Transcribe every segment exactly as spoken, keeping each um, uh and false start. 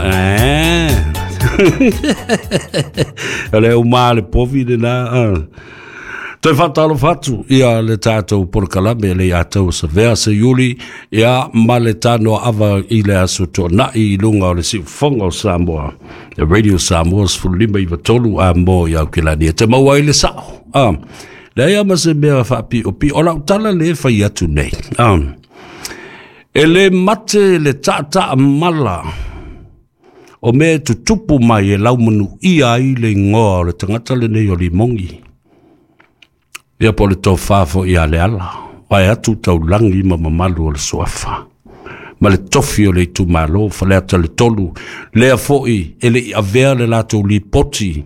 Eh. O le uma le povi le na. Toe faatalofa atu ia le tatou polokalame le ia tau savea se iuli ia ma le tanoa ava i le aso tuanai i luga o le siufofoga o Samoa. Le Radio Samoa sefulu lima iva tolu a mo i Aukilani. E te maua ai le sao. Ah. Leai ma se mea faapiopio. O lau tala le fai atu nei. Ah. E le mate le taataa mala o mea e tutupu mai e laumanuia ai le igoa o le tagata lenei o Limogi. Ia po le tofa foi ia le ala. Vae atu taulagi ma mamalu o le suafa. Ma le tofi o le itumalo, Faleata le tolu, lea foi e le i avea le latou lipoti.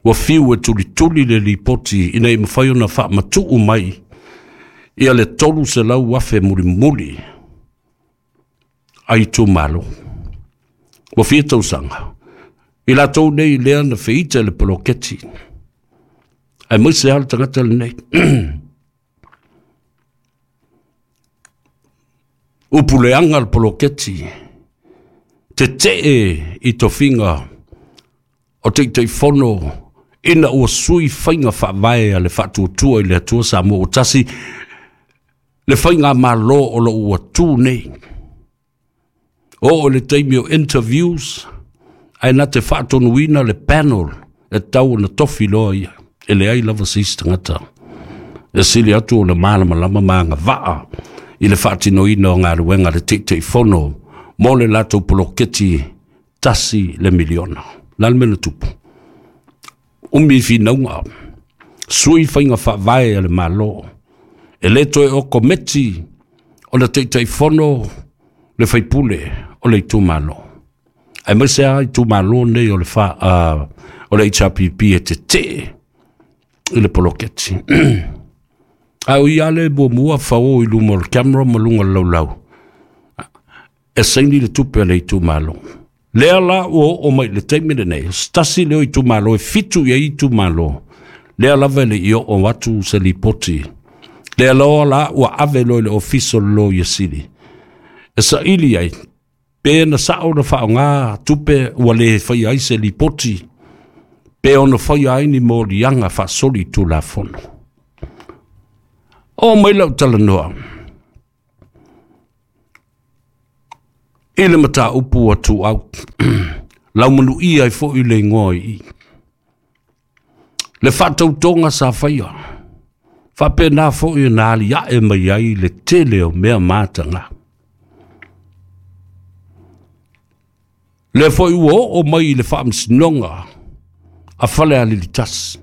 Ua fiu e tulituli le lipoti ina i mafai ona faamatuu mai ia le tolu selau afe mulimuli a itumalo. Ua fia tausaga. I latou nei lea na feita le poloketi. Ae maise lava le tagata lenei. Upu leaga le poloketi. Tetee i tofiga o Taitaifono ina ua sui faiga faavae a le Faatuatua i le Atua Samoa ua tasi le faiga malo o lo ua tu nei. O o le taimi o interviews, ae na te faatonuina le panel e tau ona tofi loa ia. E leai lava se isi tagata. E sili atu o le malamalama ma agavaa i le faatinoina o galuega le Taitaifono mo le latou poloketi tasi le miliona. La le mea na tupu. Umi finauga. Sui faiga faavae a le Malo. E le toe o kometi o le Taitaifono le faipule o le itumalo. Ae maise a itumalo nei o le, fa, uh, o le H R P P e tetee i le poloketi. A o ia le muamua fao i luma o le camera ma luga o le laulau. E saini le tupe a le itumalo. Lea la ua oo mai le taimi lenei, tasi leo itumalo e fitu i ai itumalo. Lea lava e le i oo atu se lipoti. Lea loa la ua ave loa i le ofisa o le Loia Sili. E saili ai, pe na sao na faaaoga tupe ua le faia ai se lipoti, pe ona faia ai ni moliaga faasoli tulafono. O mai lau talanoa. I le mataupu atu au. Laumanuia ai foi le igoa i i. Le faatautoga sa faia. Faapena foi na aliae mai ai le tele o mea mataga. Le foi ua oo mai i le faamasinoga a Falealili tasi.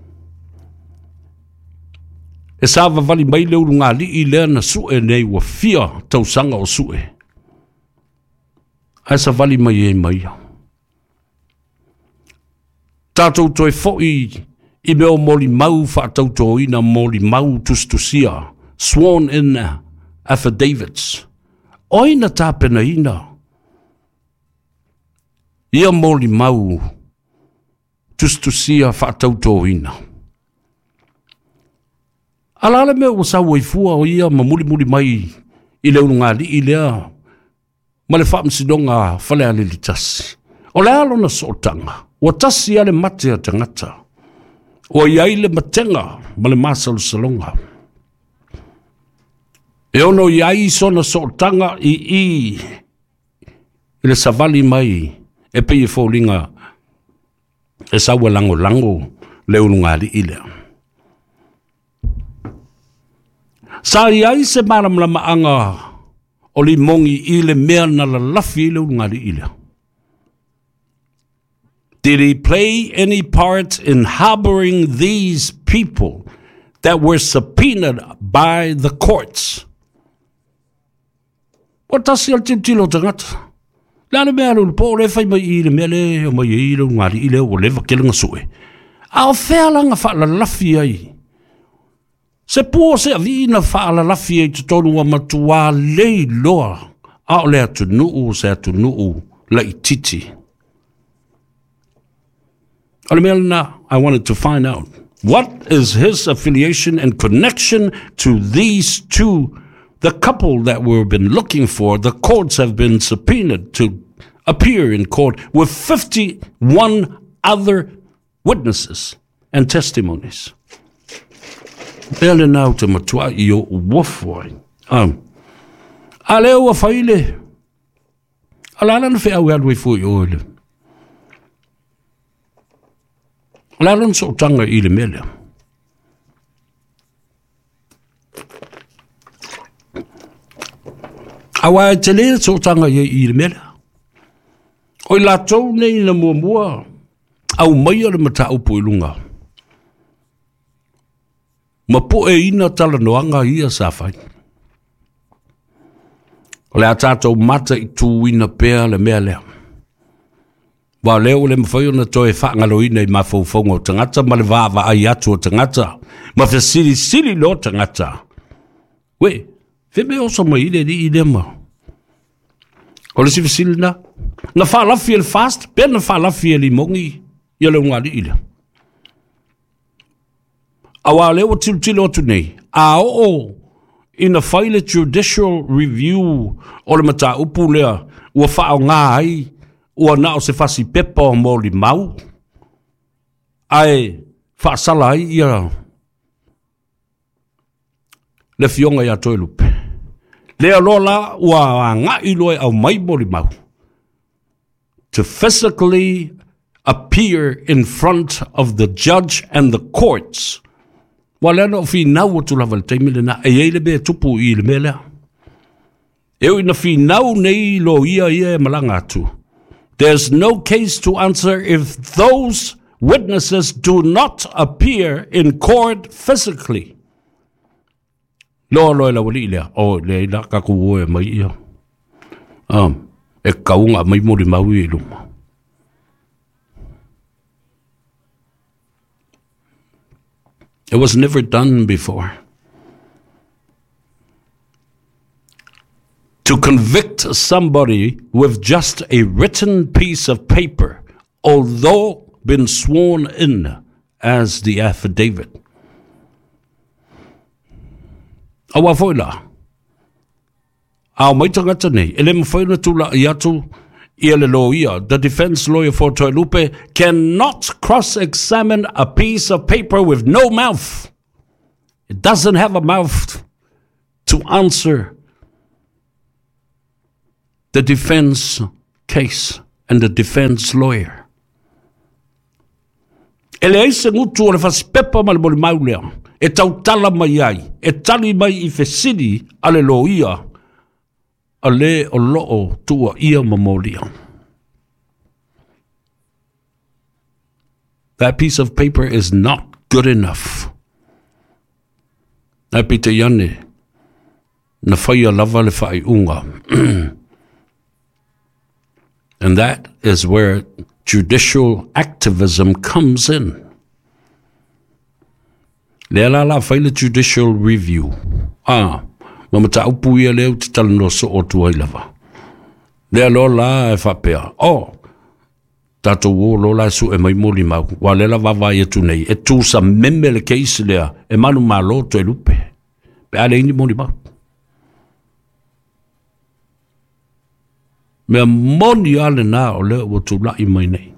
E savavali mai le ulugalii lea na sue nei ua fia tausaga o sue. Ae savali mai ai mai ia. Tatou toe foi i mea o molimau faatautoina molimau tusitusia, sworn in affidavits. O ai na tapenaina ia molimau tusitusia faatautoina? Ala le mea ua sau ai fua o ia ma mulimuli mai i le ulugalii lea ma le faamasinoga Falealili tasi. O le a lona sootaga, ua tasi a le mate a tagata. Ua i ai le matega ma le masalosaloga. E ono i ai sona sootaga i i i le savali mai e pei e foliga e sau e lagolago le ulugalii lea. Sa i ai se malamalamaaga o Limogi i le mea na lalafi i le ulugalii lea. Did he play any part in harboring these people that were subpoenaed by the courts? Ua tasi a le tilotilo o tagata. Le a le mea le po le fai mai i le mea le o mai i le ulugalii lea ua leva tele na sue. A o fea laga faalalafi ai? Se pua se avii na faalalafi ai totonu ua matuā leiloa a o le atunuu se atunuu laititi. O le mea lena, I wanted to find out. What is his affiliation and connection to these two, the couple that we've been looking for? The courts have been subpoenaed to appear in court with fifty-one other witnesses and testimonies. Lea le nau te matua i o uofu ai. A lea ua faile, a la lana whea alu i fui o ile. A la lana sootanga i le mea. A wai te lea sootanga i i le mea. O i lātou nei na muamua, au mai o le mataupu i lunga. Ma po e ina tala noanga ia sa whai. O le a tātou mata i tūina pea le mea lea. Wa leo le mwhai ona toe whaangaloina i mawhauwhaunga o tangata, ma le vāva ai atu o tangata, ma whasiri siri lo tangata. We, whime oso mai ile ni i lema. O le siwasili na, na whaalafi ele fast, pea na whaalafi ele mongi, ia le ungali ile. Awa leo tilotilo atu nei, a oo ina fai le judicial review o le mataupu lea, ua whaonga ai, ua nao se fasi pepa o moli mau, ae whaasala ai ia le fionga ia Toelupe. Lea lola ua ngai loe au mai moli mau. To physically appear in front of the judge and the courts. Wa lea no whinau atu lava le taimi le na, e eile be tupu i le mea lea. E ui na whinau nei lo ia ia e malanga atu. There's no case to answer if those witnesses do not appear in court physically. Loa loa la wali lea, o lea ila kaku oe mai ia. Um, e kaunga mai mori maui i luma. It was never done before. To convict somebody with just a written piece of paper, although been sworn in as the affidavit. Awa foi la. Au mai tangata nei, ele mwhai na tula i atu ia le loia. The defense lawyer for Toelupe cannot cross-examine a piece of paper with no mouth. It doesn't have a mouth to answer the defense case and the defense lawyer. Ele eise ngutu o le fasipepa ma le moli maulea. E tautala mai ai, e tali mai i fesili a le loia, a le o loo tua ia mamolia. That piece of paper is not good enough. Nai pita iane, na whaia lava le whai unga. And that is where judicial activism comes in. Lea la la whai le judicial review. Ah, ma mataupu ia leo te talanoa so o tuai lava. Lea lo la e whapea. Oh, tātou o lo la su e mai moli mau. Wa lela vava ia tu nei. E tū sa meme le keisi lea. E manu malo Toelupe. Pe ale ini moli mau. Mea moni ale nā o lea ua tūlai mai nei.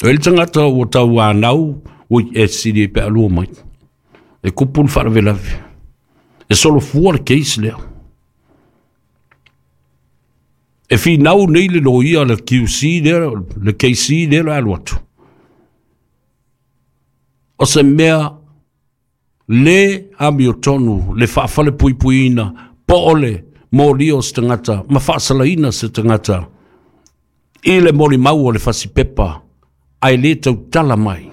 O ele tangata ua tau anau ui e siri e pe alua mai. E kupu le wharawelawe. E solo fua le keisi lea. E whinau nei le loia le Q C lea, le K C lea le alu atu. O se mea le amio tonu, le whaafale puipuina, po ole mōlio se tangata, ma whaasalaina se tangata, i le moli mau o le fasipepa, ai le tautala mai.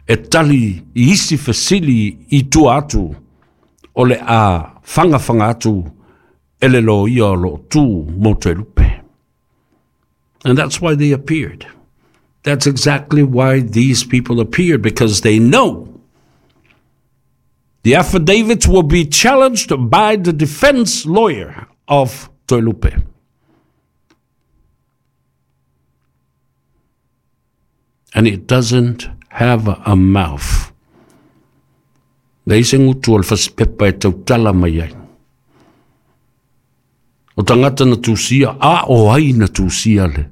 E tali i isi fesili i tua atu, o le a whanga atu, e le lo ia lo tū mō Toelupe. And that's why they appeared. That's exactly why these people appeared, because they know the affidavits will be challenged by the defense lawyer of Toelupe. And it doesn't have a mouth. Leise ngutu o le fasipepa e tautala mai ai. O tagata na tusia, a o ai na tusia le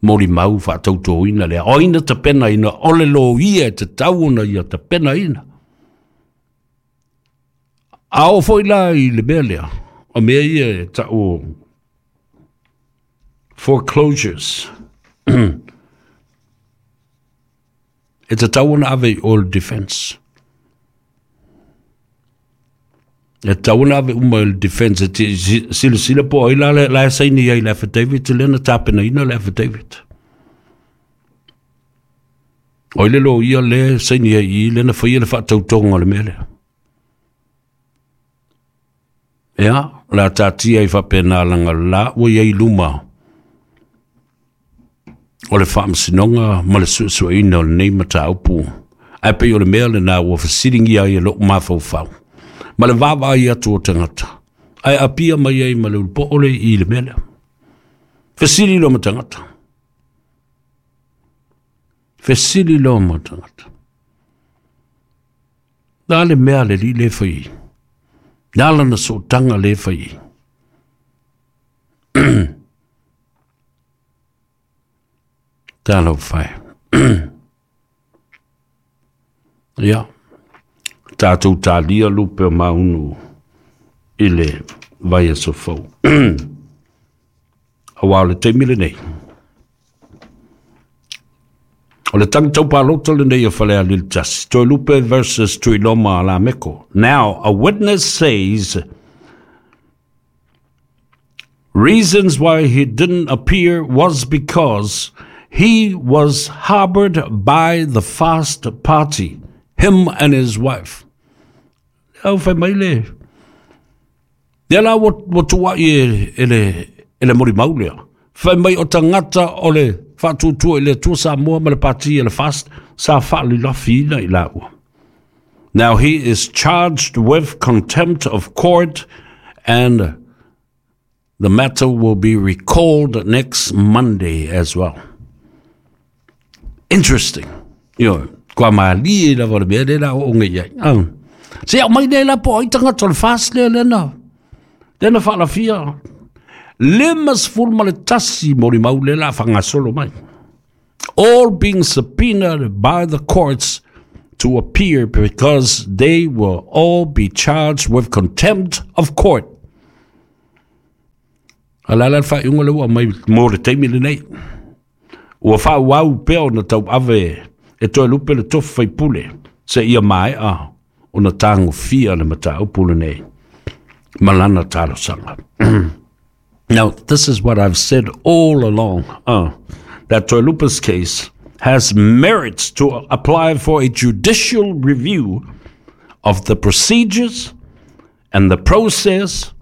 moli mau whaatautoina lea. O ina tapena ina, ole lo ia e te tau ona ia tapena ina. A o foi la i le mea lea, o mea ia e tau foreclosures. E te tau ona ave i all defense. E tau ona ave uma i le defense. E te silasila po ai la la e saini ai le affidavit, le na tapena ina le affidavit. O ile lo ia le saini ai i le na whaia le whaatautonga o le mea lea. Ea, la tātia i whapena langa la ua iai luma o le whaamasinoga ma le suesueina o lenei mataupu. Ae pei o le mea lenā ua fesiligia ai e lou mafaufau ma le vaavaai atu o tagata, ae apia mai ai ma le ulupoo le i le mea lea. Fesili loa ma tagata. Fesili loa ma tagata. Na le mea le li le fai. Na lana sootaga le fai. Talofa e. Ia, tatou talia lupe o maunu i le vaiaso fou. Auā o le taimi lenei. O le tagi taupalota lenei o Falealili tasi. Toelupe versus Tuiloma Lameko. Now, a witness says reasons why he didn't appear was because he was harbored by the Fast Party, him and his wife. Au fai mai le. Lea la ua, ua tuai e, e le, e le molimau lea. Fai mai o tagata o le Faatuatua i le Atua Samoa ma le pati e le Fast sa faalilafiina i laua. Now he is charged with contempt of court and the matter will be recalled next Monday as well. Interesting. Yo, kua malie lava le mea lea la oo ngai ai. Ah. Se au mai lea la po ai tagata o le Fast lea lena. Lena faalafia. Lima sefulu ma le tasi molimau lea la faagasolo mai. All being subpoenaed by the courts to appear because they will all be charged with contempt of court. A la la faaiuga le ua mai mo le taimi lenei. Ua faaauau pea ona tauave e Toelupe le tofi faipule seia maea ona tagofia le mataupu lenei ma lana talosaga. Now, this is what I've said all along, uh, that Toelupe's case has merits to apply for a judicial review of the procedures and the process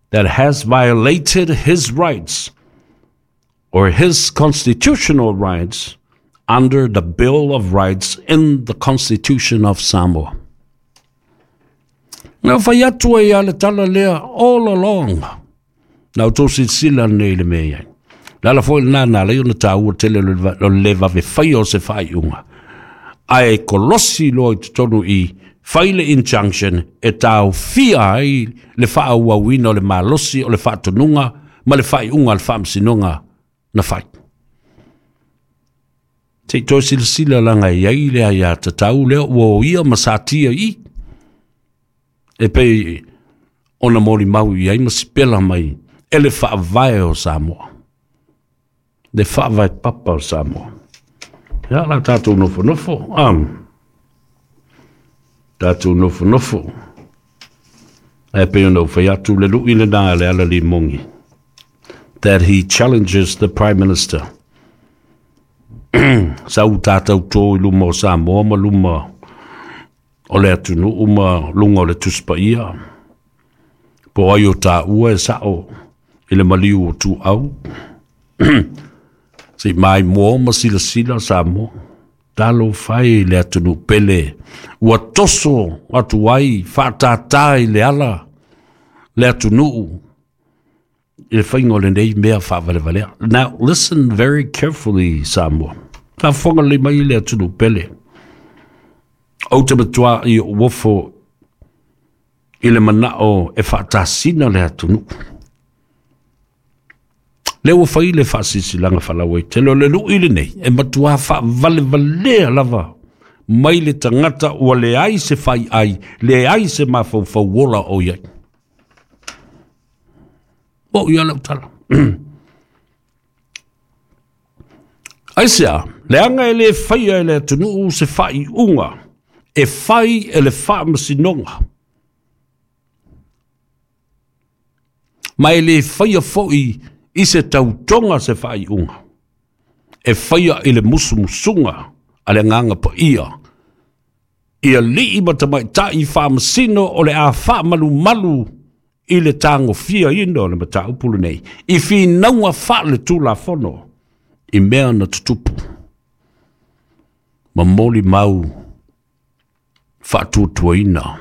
that has violated his rights or his constitutional rights under the Bill of Rights in the Constitution of Samoa. Na fai atu ai a le tala lea all along. Na o tō silasila nei le mea iai. Le ala foi lenā na ala ai ona taua tele o le vave faia o se faaiuga. Ae kolosi loa i totonu i fai le injunction e taofia ai le faaauauina o le malosi o le faatonuga ma le faaiuga a le faamasinoga na fai. Se i toe silasila laga i ai le aiatatau lea ua oia ma satia i. E pei ona molimau i ai ma sipela mai e le faavae o Samoa. Le faavae papa o Samoa. Ia la tatou nofonofo. Um, tatou nofonofo. Ae pei ona ou fai atu le lui lenā le ala limogi. That he challenges the Prime Minister. Sau tatou tō i luma o Samoa ma luma o le atunuu ma luga o le Tusi Paia. Po ai o taua e sao i le maliu o tuau. Se i maimoa ma silasila Samoa. Talofa e i le atunuu pele. Ua toso atu ai faatātā i le ala le atunuu i le faiga o lenei mea faavalevalea. Now listen very carefully, Samoa. Faafofoga lelei mai le atunuu pele. Ou te matuā i ou ofo i le manao e faatasina le atunuu. Le ua fai le faasilasilaga faalauaitele o le luʻi lenei e matuā faavalevalea lava mai le tagata ua leai se faiai, leai se mafaufau ola o iai. O ia lau tala. Aisea, leaga e lē faia e le atunuu se faaiuga e fai e le faamasinoga, ma e lē faia foʻi i se tautoga se faaiuga e faia i le musumusuga a le agaga paia ia alii ma tamaitai faamasino o le a faamalumalu i le tagofiaina o le mataupu lenei i finauga faaletulafono i mea na tutupu ma molimau faatuatuaina.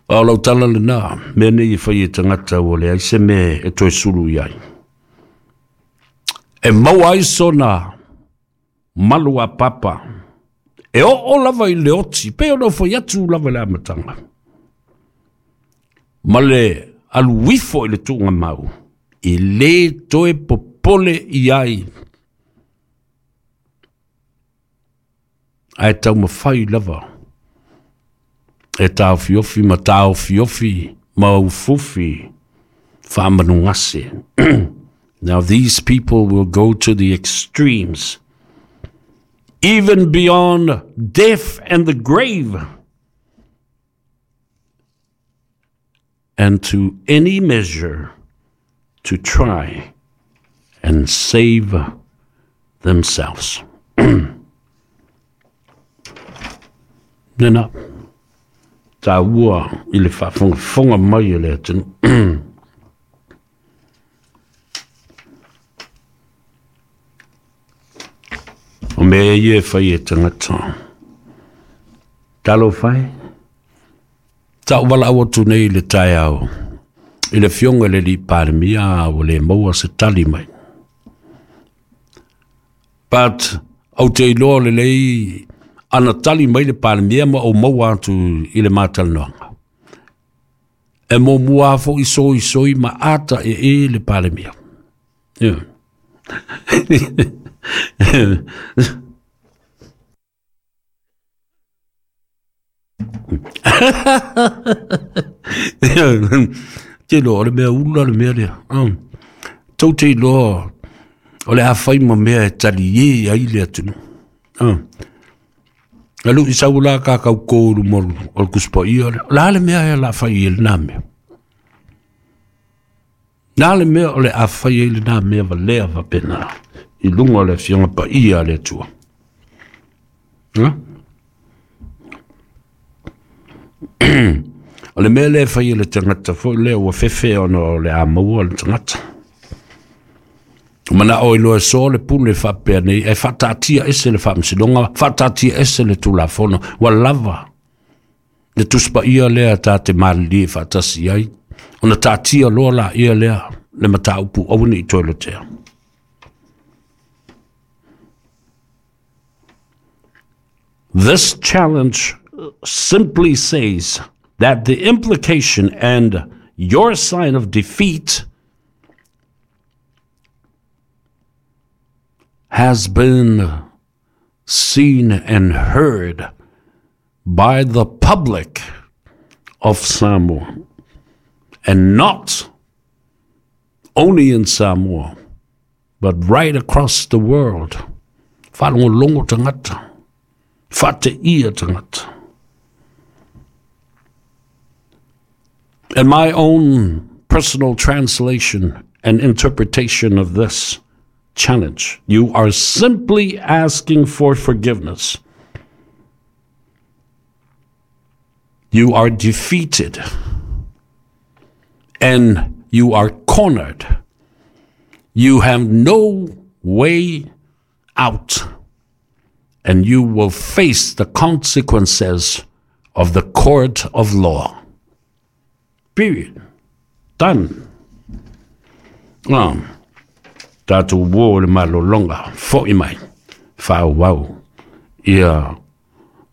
A o lau tala lenā, mea nei e fai e tagata ua leai se mea e toe sulu i ai. E maua ai sona malu a papa, e oo lava i le oti, pe ona fai atu lava i le amataga, ma le aluifo i le tuugamau, e lē toe popole i ai, ae taumafai lava e taofiofi ma taofiofi ma ufufi faamanugase. Now these people will go to the extremes, even beyond death and the grave, and to any measure to try and save themselves. Nena, tā ua i le faafogafoga mai e le atunuu. O mea ia e fai e tagata. Talofa e, taʻuvalaʻau atu nei i le taeao i le afioga i le alii Palemia ua le maua se tali mai. But ou te iloa lelei ana tali mai le Palemia ma ou maua atu i le matalanoaga. E muamua foʻi soisoi ma ata e e le Palemia. Yeah. Te loa o le mea ula le mea lea. Tou te iloa o le a fai ma mea e taliē ai le atunuu. Alu i sau la kakau kō luma o le Tusi Paia lea. O le a le mea e o le a fai ai lenā mea? Na le mea o le a fai ai lenā mea valea faapena i luga o le afioga paia a le Atua. O le mea lea e fai e le tagata foʻi lea ua fefe ona o le a maua le tagata. Manao i loa e soa le pule faapea nei, e faataatia ese le faamasinoga, faataatia ese le tulafono, ua lava le Tusi Paia lea ta te malilie faatasi ai, ona taatia loa laia lea le mataupu aua nei toe lotea. This challenge simply says that the implication and your sign of defeat has been seen and heard by the public of Samoa, and not only in Samoa, but right across the world. Faalogologo tagata, faateia tagata. In my own personal translation and interpretation of this challenge, you are simply asking for forgiveness. You are defeated and you are cornered. You have no way out, and you will face the consequences of the court of law. Period. Done. Um, tatou uō le malologa foʻi mai faaauau ia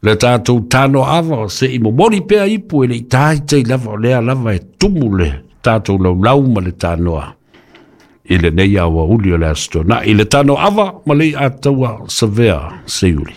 le tatou tano ava seʻi momoli pea ipu e leʻi tāitai lava o lea lava e tumu le Tatou laulau ma le tanoa i lenei aoauli o le Aso Toonai i le tano ava ma le ataua savea seiuli.